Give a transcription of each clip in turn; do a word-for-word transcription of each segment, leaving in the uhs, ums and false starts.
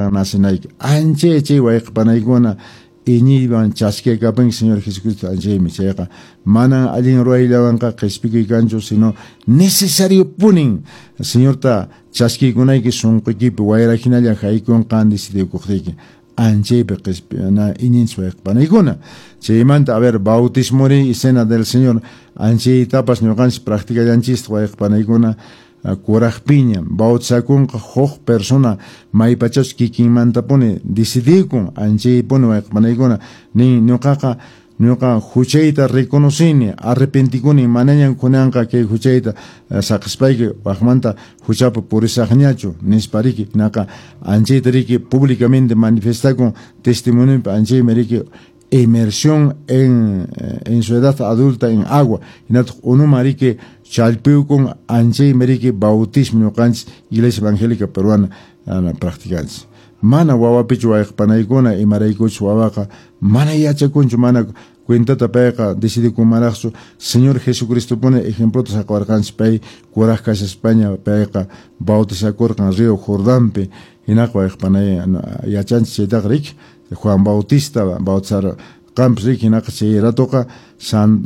qan nacinayki. Anchay chay wayqipanaykuna iñiywan chaskiykapunki Señor Jesucristo anchaymi chayqa manan allin ruwayllawanqa qhispikuy kanchu, sino necesario punin Señorta chaskiykunayki sunquykipi wayra hinalla haykunqan decidikuqtiyki anchaypi qhispina iñinchis wayqipanaykuna. Chaymanta, a ver, bautismori y cena del Señor anchaytapas ñuqanchis practicallanchis wayqipanaykuna kuraqpiña bautizakunqa huk persona maypachachus kikinmantapuni decidikun anchaypuni wayqipanaykuna nin ñuqaqa ñuqa huchayta reconocini arrepentikuni manañan kunanqa kay huchayta saqispayki waqmanta huchapi purisaqñachu nispa riki hinaqa anchayta riki públicamente manifestakun testimoniopi anchaymi riki inmersión en, en su edad adulta en agua hinataq unuman riki challpiyukun anchaymi riki bautismo ñuqanchis Iglesia Evangélica Peruana practicanchis. Mana wawapichu wayqipanaykuna imaraykuchus wawaqa mana yachakunchu mana cuentata payqa decidikunmanraqchu Señor Jesucristo puni ejemplota saqawarqanchis pay kuraq kashaspaña payqa bautizakurqan río Jordanpi hinaqa wayqipanay yachanchis chaytaqa riki Juan Bautista bautizarqanpas riki hinaqa chay ratoqa San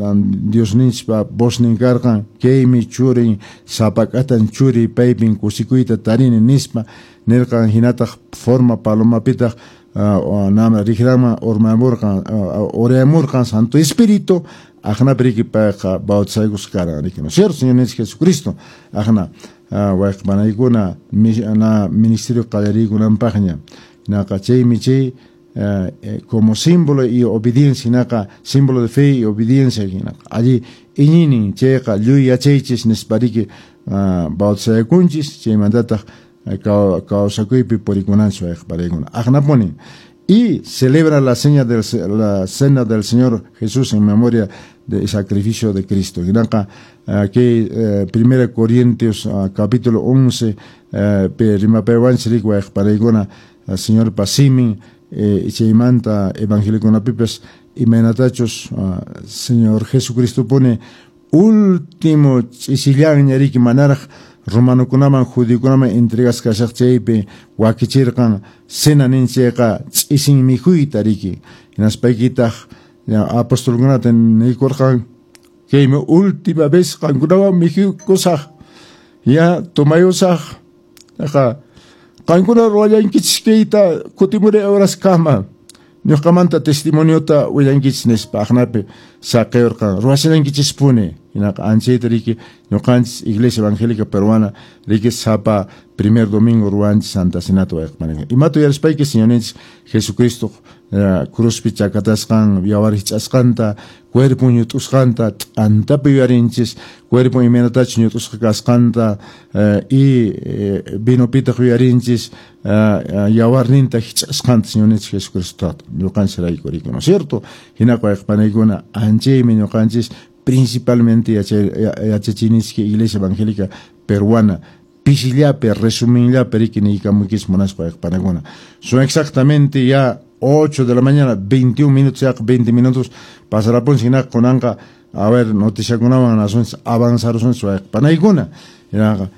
Diosninchpa voznin karqan kaymi churin sapak'atan churi paypin kusikuyta tarini nispa nirqan hinataq forma palomapitaq nama riqraman urmamurqan urayamurqan Santo Espíritu aqnapi riki payqa bautizaykusqa karqan riki, ¿no es cierto, Señor Jesucristo? Aqna wayqipanaykuna na ministerio qallariykunanpaqña hinaqa chaymi chay como símbolo y obediencia hinaqa símbolo de fe y obediencia hinaqa allí iñinin chayqa lluy yachaychis nispa riki bautizakunchis chaymantataq kawsakuypi purikunanchis wayqipanaykuna aqnapunin. Y celebra la, seña del, la cena del Señor Jesús en memoria del sacrificio de Cristo. Hinaqa kay Primera Corintios capítulo once rimapaywanchis riki wayqipanaykuna Señorpa simin chaymanta evangeliokunapipas imaynatachus Señor Jesucristo pone último ch'isillanña riki manaraq romanokunaman judiokunaman entregasqa kashaq chaypi wakichirqan cena ninchayqa ch'isin mikhuyta riki hinaspaykitaq apostolkunata niykurqan kaymi última vez qankunawan mikhukusaq ya tomayusaq aqa qankuna ruwallankichis kayta kutimuray horaskama ñuqamanta testimoniota willankichis nispa aqnapi saqiyurqan ruwashallankichispuni hinaqa anchayta riki ñuqanchis Iglesia Evangélica Peruana riki sapa primer domingo ruwanchis Santa Cenata wayqipanaykuna imata uyarispayki Señorninchis Jesucristo cruzpi chakatasqan yawar hich'asqanta cuerpon ñut'usqanta t'antapi yuyarinchis cuerpon imaynatachus ñut'usqa kasqanta y vinopitaq yuyarinchis yawarninta hich'asqanta Señorninchis Jesucristo ñuqanchisrayku riki, ¿no es cierto? Hinaqa wayqipanaykuna anchaymi ñuqanchis principalmente yachachinishki Iglesia Evangélica Peruana pisillapi resuminllapi riki niykamuykichis munaspa wayqipanaykuna. Son exactamente ya ocho de la mañana, veintiún minutos, ya veinte minutos, pasarapun hinaqa kunanqa, a ver, noticiakunawan nasunchis avanzarusunchis wayqipanaykuna. Hinaqa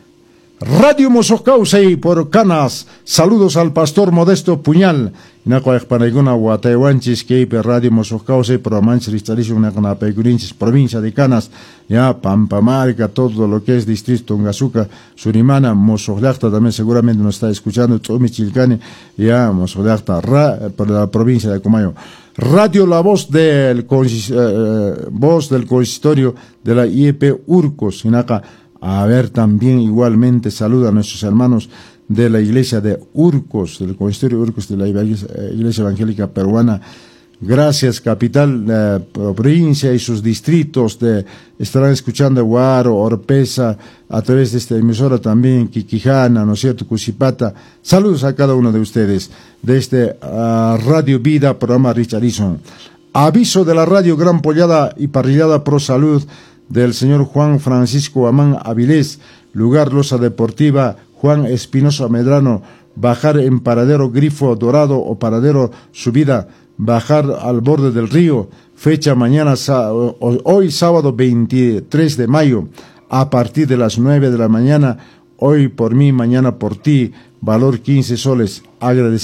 Radio Mosoq Kawsay por Canas, saludos al pastor Modesto Puñal. Hinaqa wayqipanaykuna wataywanchis kaypi Radio Mosoq Kawsay programanchis richarishun hinaqa napaykuninchis provincia de Canas, ya Pampamarca, todo lo que es distrito Tungasuca, Surimana, Mosoq Llaqta también seguramente nos está escuchando, Chumi Chilcani, ya Mosoq Llaqta, ra, por la provincia de Acomayo. Radio La Voz del, eh, Voz del Consistorio de la I E P Urcos, hinaqa a ver, también igualmente saluda a nuestros hermanos de la iglesia de Urcos, del Consistorio de Urcos de la Iglesia Evangélica Peruana. Gracias, capital, eh, provincia y sus distritos de, estarán escuchando Huaro, Orpesa, a través de esta emisora también, Quiquijana, ¿no es cierto?, Cusipata. Saludos a cada uno de ustedes de este uh, Radio Vida, programa Richardson. Aviso de la radio Gran Pollada y Parrillada Pro Salud del señor Juan Francisco Amán Avilés, lugar Losa Deportiva, Juan Espinosa Medrano, bajar en paradero Grifo Dorado o paradero Subida, bajar al borde del río, fecha mañana, hoy sábado veintitrés de mayo, a partir de las nueve de la mañana, hoy por mí, mañana por ti, valor quince soles. Agradecemos.